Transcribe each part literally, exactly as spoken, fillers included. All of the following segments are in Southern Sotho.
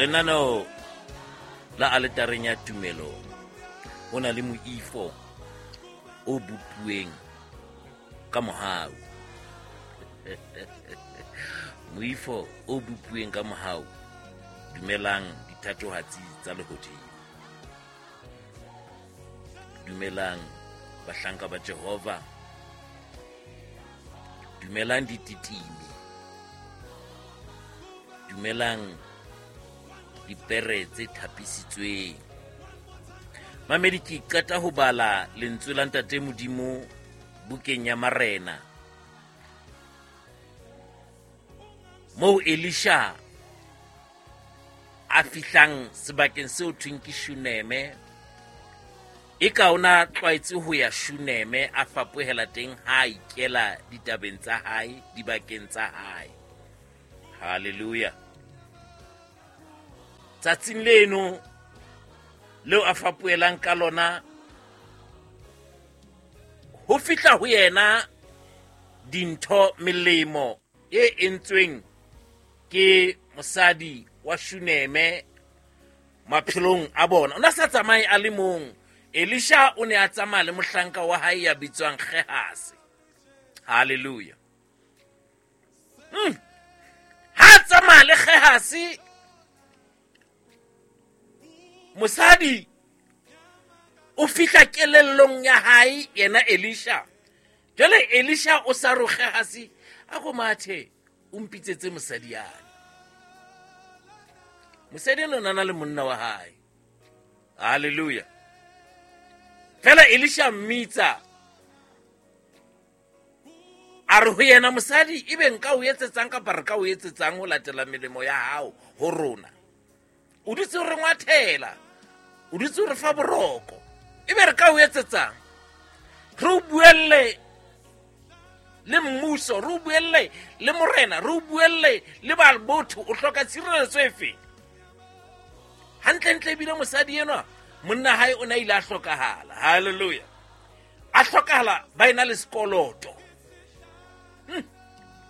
Lenaneo la aletareng ya tumelo ho na le moifo o bopuweng ka mohau. Moifo o bopuweng ka mohau. Dumelang dithatohatsi tsa lehodimo. Dumelang bahlanka ba Jehova. Dumelang dititimi. Dumelang dipere tse thapisitsweng. Mamedi, ke qeta ho bala lentswe la Ntate Modimo bukeng ya Marena, moo Elisha a fihlang sebakeng seo thweng ke Shuneme. E ka ona tlwaetse ho ya Shuneme, a fapohela teng ha a ikela ditabeng tsa hae, dibakeng tsa hae. Hallelujah. Tsatsing leno leo a fapohelang ka lona, ho fihla ho yena dintho melemo e entsweng ke mosadi wa Shuneme maphelong a bona. O na sa tsamaye a le mong. Elisha o ne a tsamaya le mohlanka wa hae ya bitswang Gehasi. Hallelujah. Hmm. Ha tsamaya le Gehasi, mosadi o fihla kelellong ya hae yena Elisha. Jwale Elisha o sa re Gehasi, a go mathe o mpitsetse mosadi yane. Mosadi eno o na le monna wa hae. Hallelujah. Fela Elisha mmitsa, a re ho yena, mosadi ebe nka o etsetsang kapa re ka o etsetsang ho latela melemo ya hao ho rona? O dutse o re ngwathela, o dutse o re fa boroko, ebe re ka o etsetsang? Re o buelle le mmuso, re o buelle le morena, re o buelle le ba botho, o hloka tshireletso efe? Hantlentle ebile mosadi enwa monna hae o ne a ile a hlokahala. Hallelujah. A hlokahala ba ena le sekoloto. Hmm.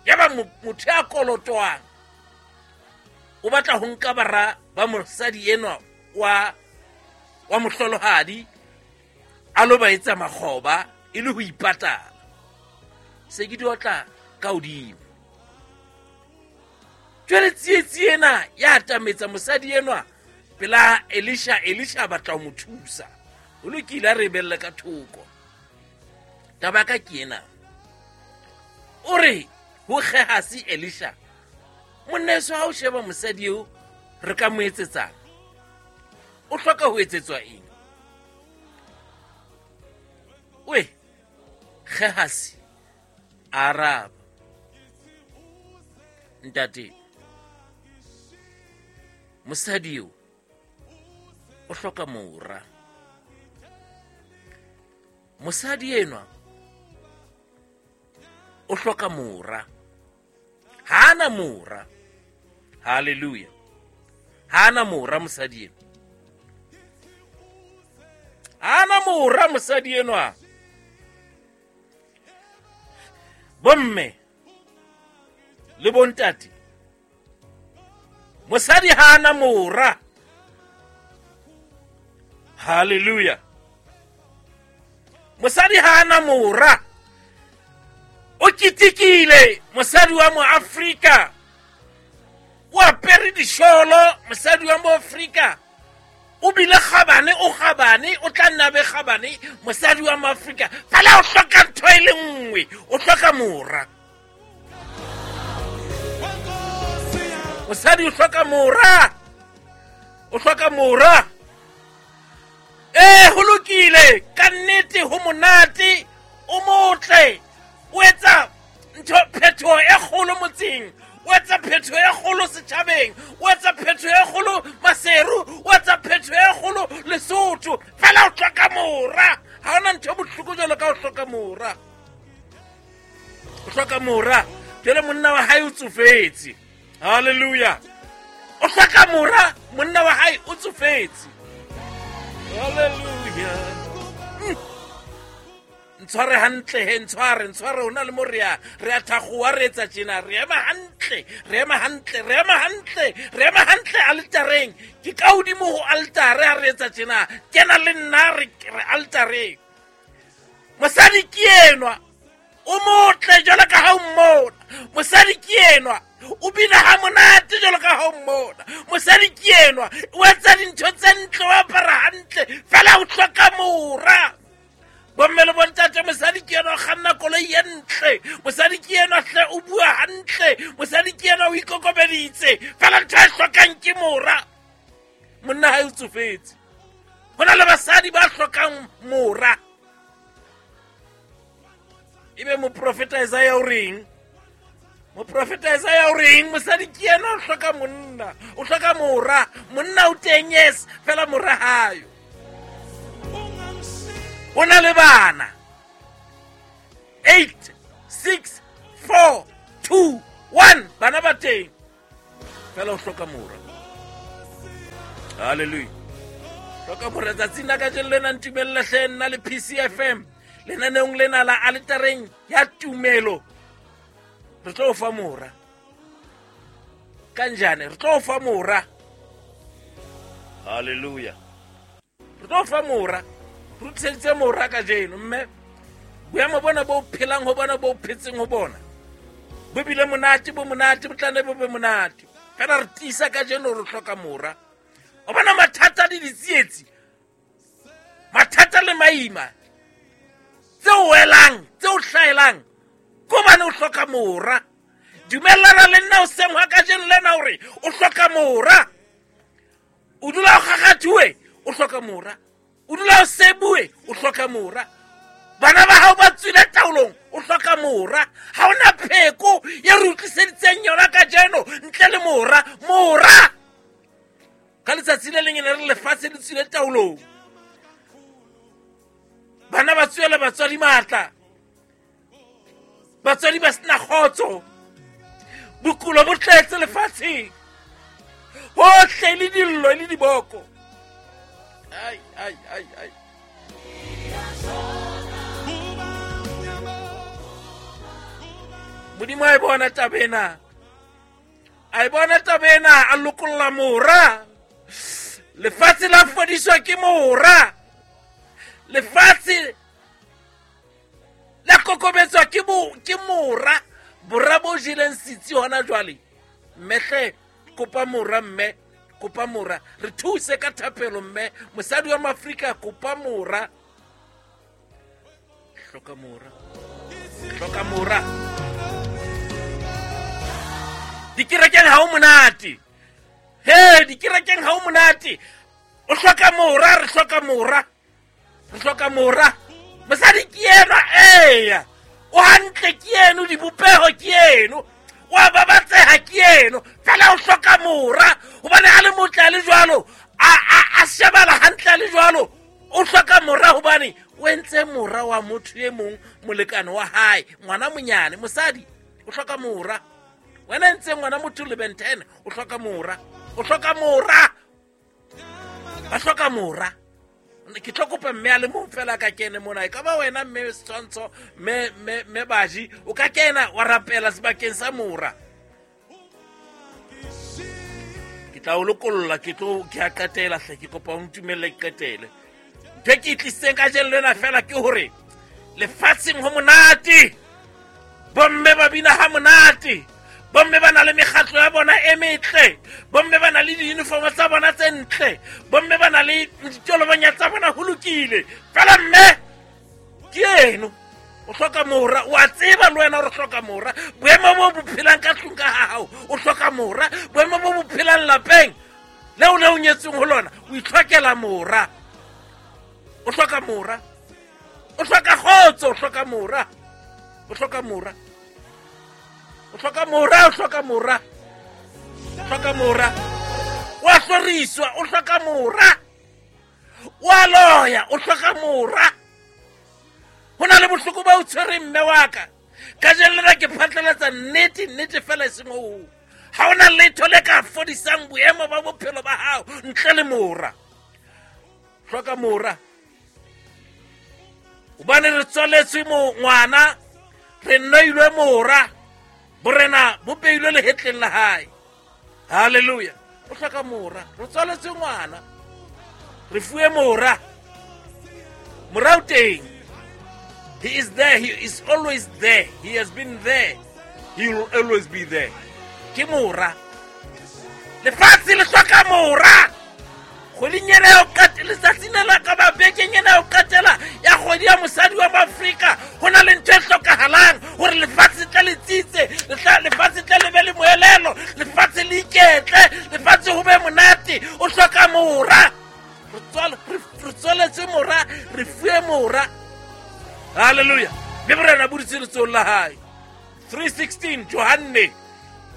Yaba motho ya kolotwang o batla ho nka bara ba mosadi enwa wa wa mohlolohadi a lo ba etsa makgoba e le ho ipatala. Se ke di otla ka hodimo. Jwale tsietsi ena ya atametsa mosadi enwa pela Elisha. Elisha batla ho mo thusa. O lokile a re belle ka thoko. Taba ka ke ena. O re ho Gehasi Elisha, monneso ha o sheba mosadi eo re ka mo etsetsang? O hloka ho etsetswa eng? We Gehasi araba, ntate, mosadi eo o hloka mora. Mosadi enwa o hloka mora. Ha ana mora. Hallelujah. Ha ana mora mosadi enwa. Ha ana mora mosadi enwa. Bomme le bontate, mosadi ha ana mora. Hallelujah. Mosadi ha ana mora. O kitikile mosadi wa mo Afrika. O apere disholo mosadi wa mo Afrika. O bile kgabane, o kgabane, o tla nna be kgabane mosadi wa mo Afrika. Fela o hloka ntho e le nngwe, o hloka mora. Mosadi o hloka mora. O hloka mora. Eh, ho lokile, ka nnete ho monate, o motle. O etsa ntho phethoho e kgolo motseng, o etsa phethoho e kgolo setjhabeng, o etsa phethoho e kgolo Maseru, o etsa phethoho e kgolo Lesotho. Fela o hloka mora. Ha hona ntho e bohloko jwalo ka ho hloka mora. O hloka mora. Jwale monna wa hae o tsofetse. Hallelujah. O hloka mora, monna wa hae o tsofetse. Hallelujah. Mm. Ntshware hantle he, ntshware, ntshware, ho na le mo re ya, re a thakgowa, re etsa tjena, re ema hantle, re ema hantle, re ema hantle, re ema hantle altareng. Ke ka hodimo ho altare ha re etsa tjena, kena le nna re, re altareng. Mosadi ke enwa, o motle jwalo ka ha o mmona. Mosadi ke enwa, o bina ha monate jwalo ka ha o mmona. Mosadi ke enwa, o etsa dintho tse ntle, o apara hantle, fela o hloka mora. Bomme le bontate, mosadi ke enwa o kganna koloi e ntle. Mosadi ke enwa hle o bua hantle. Mosadi ke enwa o ikokobeditse, fela ntho e hlokang ke mora. Monna hae o tsofetse. Ho na le basadi ba hlokang mora. Ebe moprofeta Isaiah o reng? Moprofeta Isaiah o reng? Mosadi ke yena o hloka monna, o hloka mora. Monna o teng, yes, fela mora hayo. O na le bana. eight, six, four, two, one. Bana ba teng. Fela o hloka mora. Hallelujah. Hloka mora. Tsatsing la kajeno lena ntumelle hle nna le P C F M. Lenaneong lena la aletareng ya tumelo. Re tlo fa mora. Kanjane re tlo fa mora. Hallelujah. Re tlo fa mora. Re tsheditse mora kajeno, mme boemo bona bo phelang ho bona bo phetseng ho bona bo bile monate, bo monate, bo tla ne bo be monate. Fela re tiisa kajeno re hloka mora. O bona mathata le ditsietsi, mathata le maima tse o welang, tse o hlaelang, ko bane o hloka mora. Dumellana le nna o seng hwa kajeno lena hore o hloka mora. O dula o kgakgathuwe, o hloka mora. O dula o sebue, o hloka mora. Bana ba hao ba tswile taolong, o hloka mora. Ha ona pheko ye re utlwiseditseng yona kajeno ntle le mora. Mora! Ka letsatsi le leng ne re lefatshe le tswile taolong. Bana ba tswela batswadi matla. Batswadi ba sena kgotso. Bokulo bo tletse lefatsheng. Hohle le dillo le diboko. Ai, ai, ai, ai. Modimo a e bona taba ena. A e bona taba ena, a lokolla mora. Lefatshe la fodiswa ke mora. Lefatshe la kokobetswa ke bo ke mora. Bora bo jeleng setsi hona jwale. Mme hle kopa mora, mme kopa mora. Re thuse ka thapelo, mme mosadi wa Afrika kopa mora. Hloka mora. Hloka mora. Dikerekeng ha o monate. He, dikerekeng ha o monate. O hloka mora, re hloka mora. Re hloka mora. Mosadi ke enwa, eya. O hantle ke eno, dibopeho ke eno. Wa babatseha ke eno. Fela o hloka mora. Hobane ha le motle a le jwalo, a a a shebala hantle a le jwalo. O hloka mora hobane o entse mora wa motho e mong molekane wa hae, ngwana monyane, mosadi o hloka mora. Wena ntse ngwana motho le benten, o hloka mora. O hloka mora. Ba hloka mora. Ke tlo kopa mme a le mong fela ka kene mona. E ka ba wena mme Setshwantsho, mme mme mme Baji, o ka kena wa rapela sebakeng sa mora. Ke tla o lokolla, ke tlo ke a qetela hle, ke kopa o ntumelle ke qetele. Ntho e ke e tlisitseng kajeno lena fela ke hore lefatsheng ho monate. Bomme ba bina ha monate. Bomme ba na le mekgatlo ya bona e metle. Bomme ba na le di-uniform tsa bona tse ntle. Bomme ba na le ditolobonya tsa bona ho lokile. Fela mme ke eno o hloka mora. O a tseba le wena hore o hloka mora. Boemo bo bo phelang ka tlung ka ha hao, o hloka mora. Boemo bo bo phelang lapeng leo le o nyetsweng ho lona, o itlhokela mora. O hloka mora. O hloka kgotso, o hloka mora. O hloka mora. O hloka mora, o hloka mora. O hloka mora. O a hloriswa, o hloka mora. O a loya, o hloka mora. Ho na le bohloko ba o tshwereng mme wa ka. Kajeno lena ke phatlalatsa nnete, nnete fela e seng ho. Ha hona letho le ka fodisang boemo ba bophelo ba hao ntle le mora. Hloka mora. Hobane re tswaletswe ngwana, re neilwe mora, borena bo beilwe lehetleng la hae. Hallelujah. O hloka mora, re tswaletswe ngwana, re fuwe mora. Mora o teng. He is there, he is always there. He has been there. He will always be there. Ke mora. Lefatshe le hloka mora. Kgweding ena ya ho qetela, letsatsing lena ka ba bekeng ena ya ho qetela ya kgwedi ya mosadi wa Afrika, ho na le ntho e hlokahalang hore lefatshe tle le tsitse, lefatshe tle le be le moelelo, lefatshe le iketle, lefatshe ho be monate. O hloka mora. Re tswaletswe mora, re fuwe mora. Hallelujah. Mme borena bo dutse letsohong la hae. three sixteen Johanne.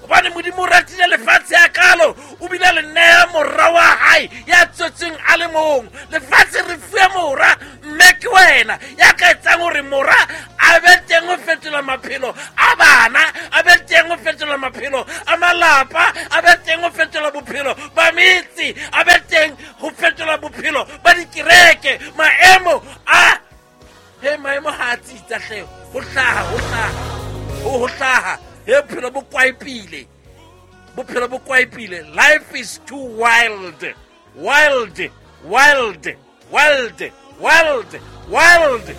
Hobane Modimo o ratile lefatshe hakalo, o bile le neha mora wa hae ya tswetsweng a le mong. Lefatshe re fuwe mora, mme ke wena ya ka etsang hore mora a be teng ho fetola maphelo a bana, a be teng ho fetola maphelo a malapa, a be teng ho fetola bophelo ba metse, a be teng ho fetola bophelo ba dikereke. Maemo a he maemo ha a tsitsa hle, ho hlaha, ho hlaha, ho hlaha. He bophelo bo kwaepile, bophelo bo kwaepile. Life is too wild, wild, wild, wild, wild, wild.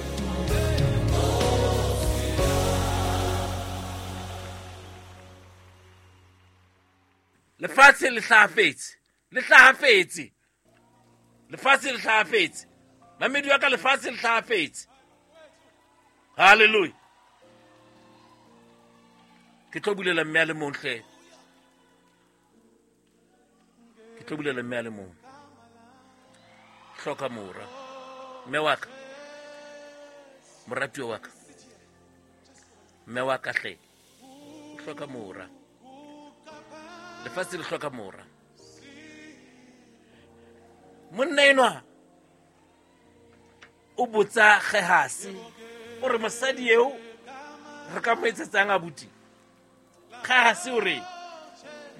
Lefatshe le hlahafetse, le hlahafetse, lefatshe le hlahafetse. Mamedi wa ka, lefatshe le hlahafetse. Hallelujah. Ke tlo bulela mme a le mong hle. Ke tlo bulela mme a le mong. Hloka mora. Mme wa ka. Moratuwa wa ka. Mme wa ka hle. O hloka mora. Lefatshe le hloka mora. Monna enwa o botsa Gehasi o re mosadi eo re ka mo etsetsang abuti. Gehasi o re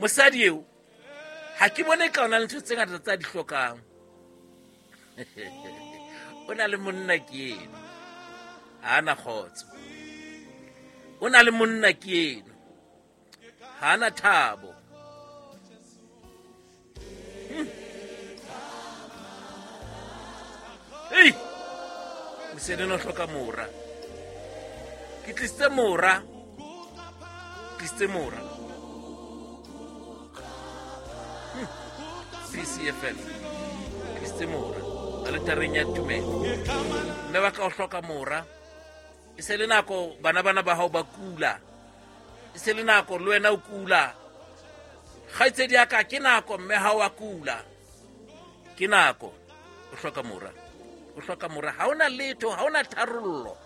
mosadi eo ha ke bone ka ona le ntho tse ngata tsa di hlokang. O na le monna ke eno, ha ana kgotso. O na le monna ke eno, ha ana thabo. Hmm. Ei, mosadi o hloka mora. Ke tlisitse mora, tlisitse mora. Hmm. P C F M. Tlisitse mora aletareng ya tumelo. Mme wa ka o hloka mora. E se le nako bana bana ba hao ba kula. E se le nako le wena o kula. Kgaitsedi ya ka, ke nako mme ha wa kula. Ke nako o hloka mora. O hloka mora. Ha ona letho, ha ona tharollo.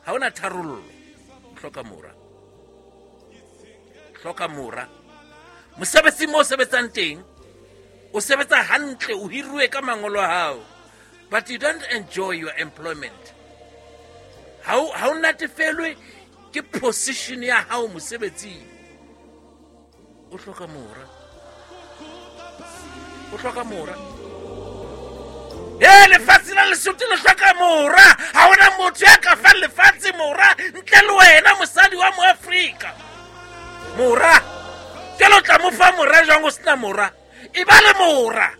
Ha ona tharollo. O hloka mora. Hloka mora. Mosebetsi mo sebetsang teng, o sebetsa hantle, o hiruwe ka mangolo a hao, but you don't enjoy your employment. Ha o ha o natefelwe ke position ya hao mosebetsing. O hloka mora. O hloka mora. Eh, lefatshe la Lesotho le hloka mora. Ha hona motho ya ka fang lefatshe mora ntle le wena mosadi wa Moafrika. Mora. Jwale o tla mo fa mora jwang o sena mora? E ba le mora.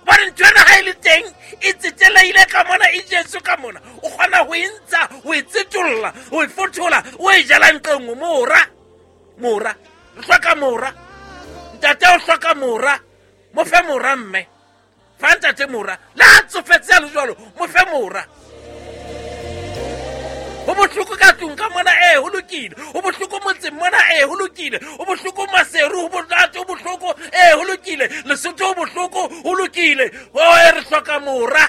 Hobane ntho ena ha e le teng, e tseteleile ka mona, e jetswe ka mona. O kgona ho e ntsha, ho e tsetolla, ho e fothola, o e jala nqe nngwe. Mora. Mora. Re hloka mora. Ntate o hloka mora. Mo fe mora mme. Fa ntate mora. Le ha tsofetse a le jwalo, mo fe mora. Ho bohloko ka tlung ka mona, eh, ho lokile. Ho bohloko motseng mona, eh, ho lokile. Ho bohloko Maseru, ho bohloko, ho bohloko, eh, ho lokile. Lesotho ho bohloko, ho lokile. Oh, eh, re hloka mora.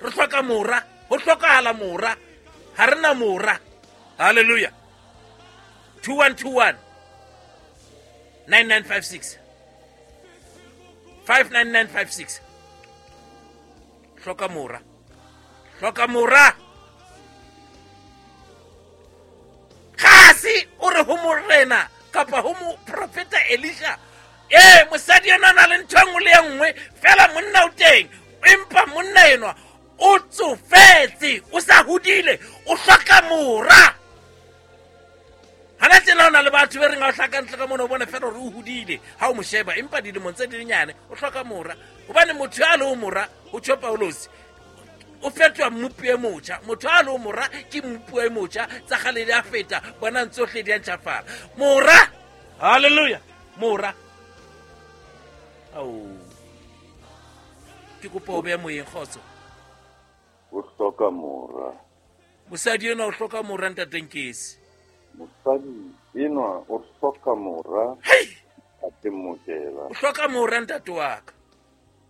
Re hloka mora. Ho hlokahala mora. Ha re na mora. Hallelujah. two one two one nine nine five six five nine nine five six. Hloka mora. Hloka mora. Gehasi o re ho morena kapa ho moprofeta Elisha, eh, mosadi ena na le ntho e nngwe le e nngwe fela monna o teng, empa monna enwa O tsofetse, o sa hodile, o hloka mora. Hana tjena hona le batho be reng ha o hlaka ntle ka mona o bone fela hore o hodile ha o mo sheba, empa dilemong tse di nyane o hloka mora. Hobane motho ya le mora o tjho Paulosi o fetoha mmopi e motjha. Motho a le mora ke mmopi e motjha, tsa kgale di a feta, bonang tsohle di a ntjhafala. Mora, hallelujah, mora. Ao, ke kopa o behe moyeng, kgotso. O hloka mora. Mosadi enwa o hloka mora, ntate Nkesi. Mosadi enwa o hloka mora. Hei! Ntate Mokela. O hloka mora, ntate wa ka.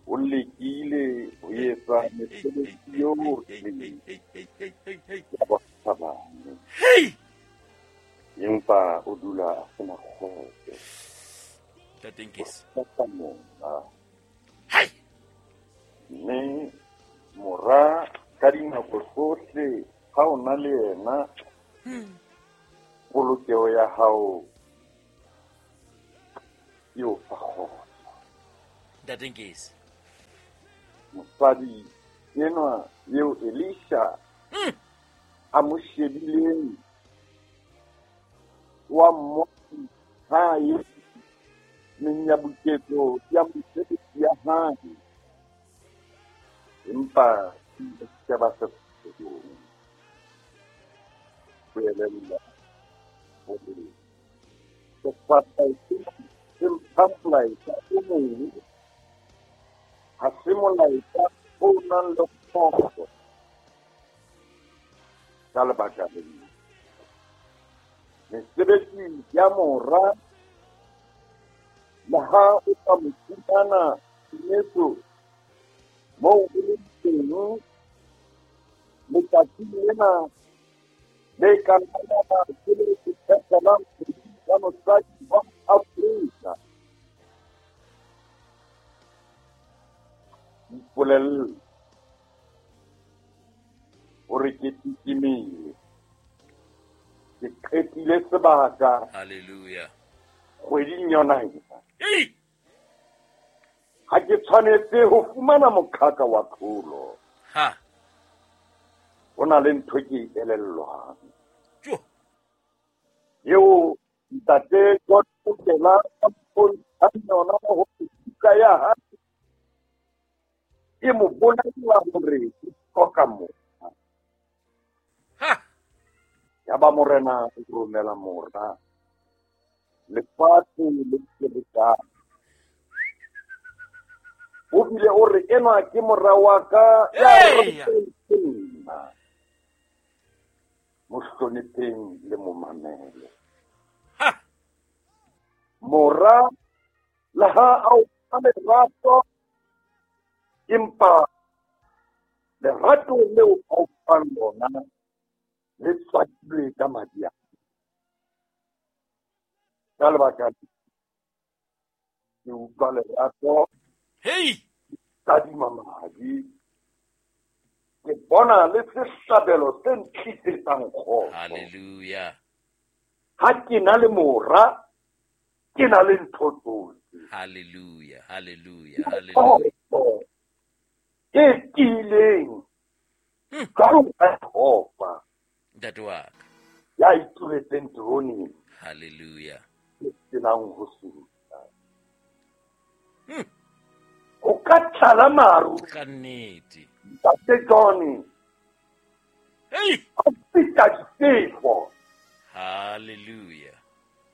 O lekile ho etsa mesebetsi yohle ya bokgabane. Hei! Empa o dula a sena kgotso. Ntate Nkesi. O hloka mora. Hei! Mme mora ka dinako tsohle ha o na le yena, polokeho ya hao e o fa kgotso. Ntate Nkesi. Mosadi enwa eo Elisha a mo shebileng wa mmona hae menyabuketso ya mosebetsi ya hae, empa se ba se ho elella hore sefahleho se mpha molaetsa o mong, ha se molaetsa o nang le kgotso. Ka lebaka lena, mesebetsi ya mora le ha o ka mo fumana timetso moo o leng teng letsatsing lena le ka nna la ke le phethelang kgwedi ya mosadi wa Afrika. Ipolelle hore ke titimile, ke qetile sebaka. Hallelujah. Kgweding yona ena. Ei! Ha ke tshwanetse ho fumana moqhaka wa tlholo. Ha. Ho na le ntho ke e elellwang. Jo. Eo ntate John Mokela a mpontshang yona hore buka ya hae e mo bolella hore o hloka mora. Ha. Yaba morena o romela mora lefatshe le ferekane. O bile o re enwa ke mora wa ka ya ratwang ke nna. Mo hlonipheng le mo mamele. Ha. Mora le ha a o fa lerato, empa lerato leo a o fang lona le tswakilwe ka madi a. Ka lebaka le, ke utlwa lerato. Hei! Tadima madi. Ke bona le sehlabelo se ntlisetsang kgotso. Hallelujah. Ha ke na le mora, ke na le ntho tsohle. Hallelujah, hallelujah, hallelujah. E tiileng jwalo ka Jehova. Ntate wa ka. Ya ituletseng teroneng. Hallelujah. E senang ho sutla. Hmm. O ka tlala maru. Ka nnete. Ntate Johnny. Hei! A feta difefo. Hallelujah.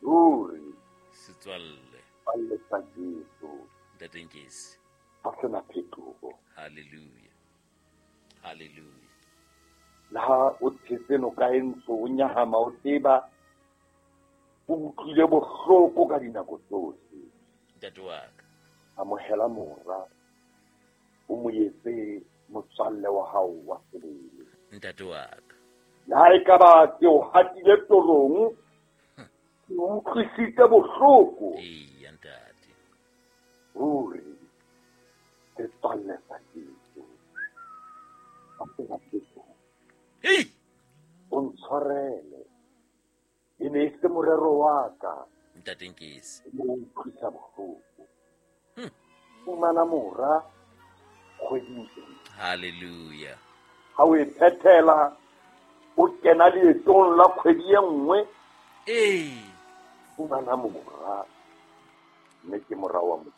Ruri. Setswalle. Setswalle sa Jesu. Ntate Nkesi. Ha sena phetoho. Hallelujah. Hallelujah. Le ha o tshetse noka e ntsho, o nyahama, o tseba, o utlwile bohloko ka dinako tsohle. Ntate wa ka. Amohela mora, o mo etse motswalle wa hao wa sebele. Ntate wa ka. Le ha ekaba ke o hatile torong, ke o utlwisitse bohloko. Eya, ntate. Ruri, setswalle sa Jesu. Ha sena phetoho. Hei! O ntshwarele. E ne e se morero wa ka. Ntate Nkesi. O utlwisa bohloko. Hmm. Fumana mora kgweding ena. Hallelujah. Ha o e phethela o kena leetong la kgwedi e nngwe. Ee. Fumana mora, mme ke mora wa Modimo.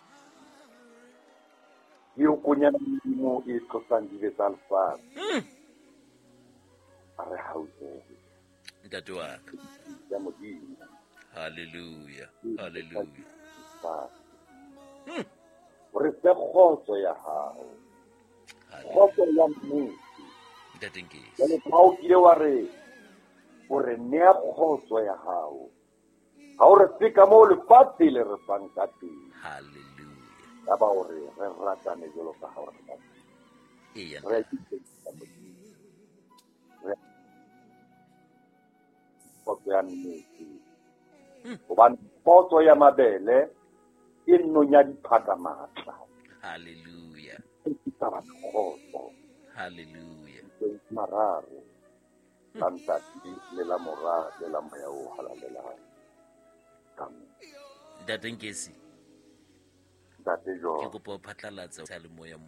Ke eo konyana Modimo e tlosang dibe tsa lefatshe. Mm. A re hauhele. Ntate wa ka. Ya Modimo. Hallelujah. Hallelujah. Mm. O re fe kgotso ya hao. Kgotso ya nnete. Ntate Nkesi. Jwale ka ha o kile wa re, o re nea kgotso ya hao. Ha o re fe ka moo lefatshe le re fang ka teng. Hallelujah. Ya ba o re, re ratane jwalo ka ha o re rata. Eya, Re ntate. itse Modimo. Re kgotso ya nnete. Mm. Hobane kgotso ya mabele e nonya diphaka matla. Hallelujah. E tlisa batho kgotso. Hallelujah. Mararo. La Ntate le la Mora le la Moya o Halalelang. Amen. Ntate Nkesi. Ntate Ke John. kopa o phatlalatse sa le moya